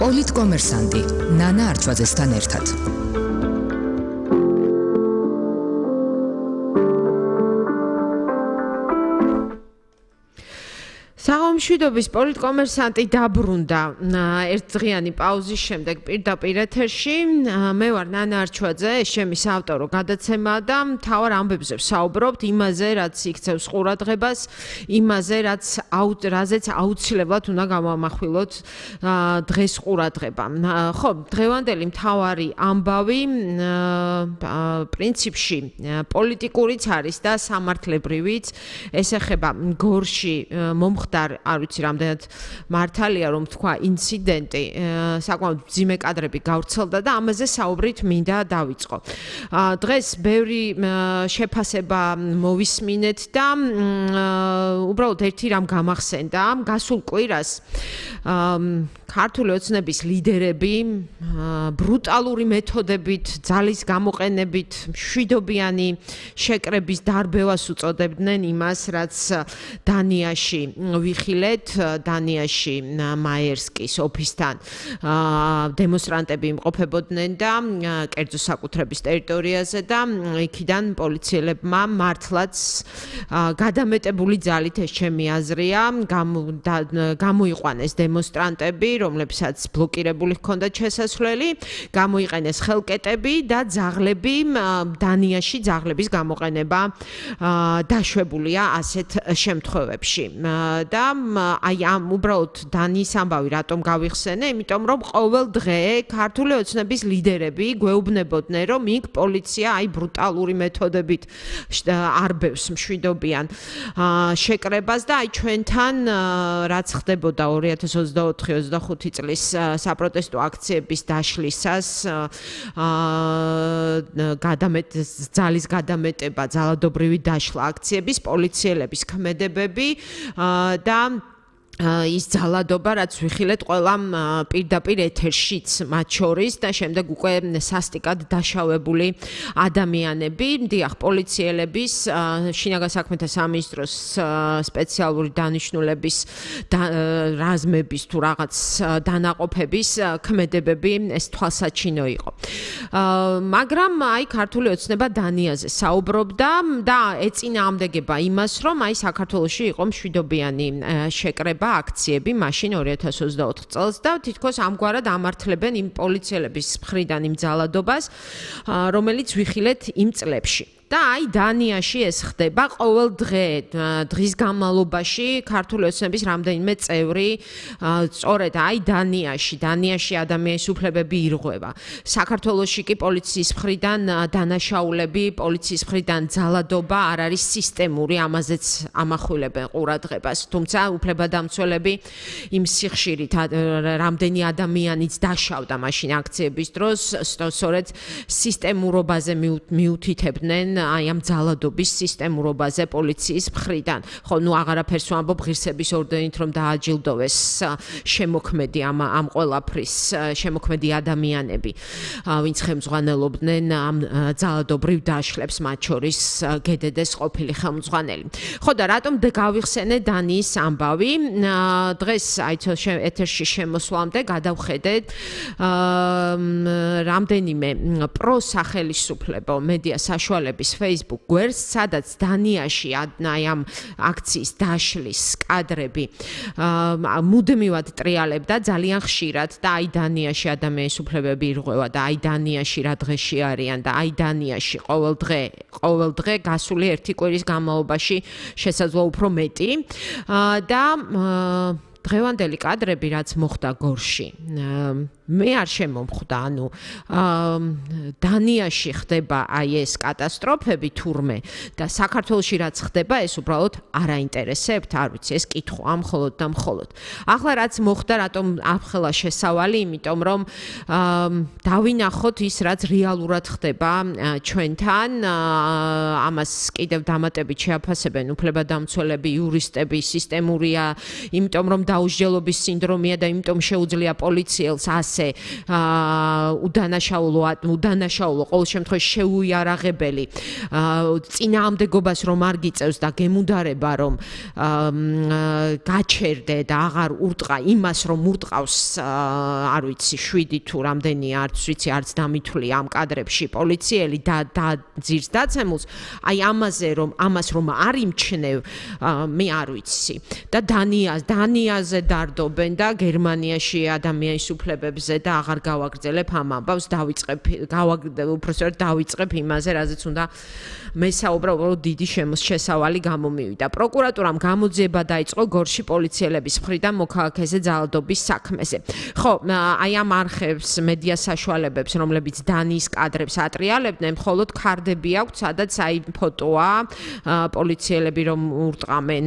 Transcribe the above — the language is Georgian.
პოლიტკომერსანტი ნანა არჩვაძესთან ერთად. მშვიდობის პოლიტკომერსანტი დაბრუნდა ერთდღიანი პაუზის შემდეგ პირდაპირ ეთერში. მე ვარ ნანა არჩვაძე, ეს ჩემი საავტორო გადაცემა და მთავარ ამბებზე ვსაუბრობთ იმაზე, რაც იქცევს ყურადღებას, იმაზე, რაზეც აუცილებლად უნდა გამოვამახვილოთ დღეს ყურადღება. ხო, დღევანდელი მთავარი ამბავი პრინციპში პოლიტიკურიც არის და სამართლებრივიც. ეს ეხება გორში მომხდარ არ ვიცი რამდენად მართალია რომ თქვა ინციდენტი საკმაოდ მძიმე კადრები გავრცელდა და ამაზე საუბრით მინდა დავიწყო. დღეს ბევრი შეფასება მოვისმინეთ და უბრალოდ ერთი რამ გამახსენდა გასულ კვირას ქართული ოცნების ლიდერები ბრუტალური მეთოდებით ძალის გამოყენებით მშვიდობიანი შეკრების დარბევას უწოდებდნენ იმას რაც დანიაში ვიხილეთ დანიაში მაიერსკის ოფისთან დემონსტრანტები იმყოფებოდნენ და კერძო საკუთრების ტერიტორიაზე და იქიდან პოლიციელებმა მართლაც გადამეტებული ძალით ეს ჩემი აზრია გამოიყვანეს დემონსტრანტები რომლებსაც ბლოკირებული ჰქონდათ შესასვლელი გამოიყენეს ხელკეტები და ძაღლები დანიაში ძაღლების გამოყენება დაშვებულია ასეთ შემთხვევებში და აი ამ უბრალოდ დანიის ამბავი რატომ გავიხსენე იმიტომ რომ ყოველ დღე ქართული ოცნების ლიდერები გვეუბნებოდნენ რომ იქ პოლიცია აი ბრუტალური მეთოდებით არბევს მშვიდობიან შეკრებას და აი ჩვენთან რაც ხდებოდა 2024-25 წლის საპროტესტო აქციების დაშლისას ძალის გადამეტება ძალადობრივი დაშლა აქციების პოლიციელების ქმედებები და ის ძალადობა რაც ვიხილეთ ყველა პირდაპირ ეთერშიც მათ შორის და შემდეგ უკვე სასტიკად დაშავებული ადამიანები დიახ პოლიციელების შინაგან საქმეთა სამინისტროს სპეციალური დანიშნულების რაზმების თუ რაღაც დანაყოფების ქმედებები ეს თვალსაჩინო იყო მაგრამ აი ქართული ოცნება დანიაზე საუბრობდა და ეწინააღმდეგება იმას რომ აი საქართველოში იყო მშვიდობიანი შეკრება აქციები მაშინ 2024 წელს და თითქოს ამგვარად ამართლებენ იმ პოლიციელების მხრიდან იმ ძალადობას რომელიც ვიხილეთ იმ წლებში და აი დანიაში ეს ხდება ყოველ დღის განმავლობაში ქართული ოცნების რამდენიმე წევრი სწორედ აი დანიაში ადამიანის უფლებები ირღვევა საქართველოში კი პოლიციის მხრიდან დანაშაულები პოლიციის მხრიდან ძალადობა არ არის სისტემური ამაზეც ამახვილებენ ყურადღებას თუმცა უფლებადამცველები იმ სიხშირით რამდენი ადამიანიც დაშავდა მაშინ აქციების დროს სწორედ სისტემურობაზე მიუთითებდნენ აი ამ ძალადობის სისტემურობაზე პოლიციის მხრიდან. ხო, ნუ აღარაფერს ვამბობ ღირსების ორდენით რომ დააჯილდოვეს შემოქმედი ამ ყველაფრის შემოქმედი ადამიანები, ვინც ხელმძღვანელობდნენ ამ ძალადობრივ დაშლებს, მათ შორის გედედეს ყოფილი ხელმძღვანელი. ხო და რატომ გავიხსენე დანიის ამბავი? დღეს აი ეთერში შემოსვლამდე გადავხედეთ რამდენიმე პროსახელისუფლებო მედია საშუალების Facebook გვერდს, სადაც დანიაში აი ამ აქციის დაშლის კადრები მუდმივად ტრიალებდა ძალიან ხშირად და აი დანიაში ადამიანის უფლებები ირღვევა და აი დანიაში რა დღეში არიან და აი დანიაში ყოველ დღე გასული ერთი კვირის განმავლობაში შესაძლოა უფრო მეტი და დღევანდელი კადრები რაც მოხდა გორში მე არ შემომხვდა ანუ დანიაში ხდება აი ეს კატასტროფები თურმე და საქართველოში რაც ხდება ეს უბრალოდ არ აინტერესებთ არ ვიცი ეს კითხვა მხოლოდ და მხოლოდ ახლა რაც მოხდა რატომ ახლა შესავალი იმიტომ რომ დავინახოთ ის რაც რეალურად ხდება ჩვენთან ამას კიდევ დამატებით შეაფასებენ უფლებადამცველები იურისტები სისტემურია იმიტომ რომ დაუსჯელობის სინდრომია და იმიტომ შეუძლია პოლიციელს ასე უდანაშაულო ყოველ შემთხვევაში შეუიარაღებელი წინააღმდეგობას რომ არ გიწევს და გემუდარება რომ გაჩერდე და აღარ ურტყა იმას რომ ურტყავს არ ვიცი 7 თუ რამდენი არც ვიცი არც დამითვლი ამ კადრებში პოლიციელი და ძირს დაცემულს აი ამას რომ არ იმჩნევ მე არ ვიცი და დანიაზე დარდობენ და გერმანიაში ადამიანის უფლებებზე და აღარ გავაგრძელებ ამ ამბავს უпростоრად დავიწყებ იმაზე რაზეც უნდა მესაუბრა უბრალოდ დიდი შესავალი გამომივიდა პროკურატურამ გამოძიება დაიწყო გორში პოლიციელების მხრიდან მოქალაქეზე ძალადობის საქმეზე ხო აი ამ არხებს მედია საშუალებებს რომლებიც დანიის კადრებს ატრიალებდნენ მხოლოდ ქარდები აქვთ სადაც აი ფოტოა პოლიციელები რომ ურტყამენ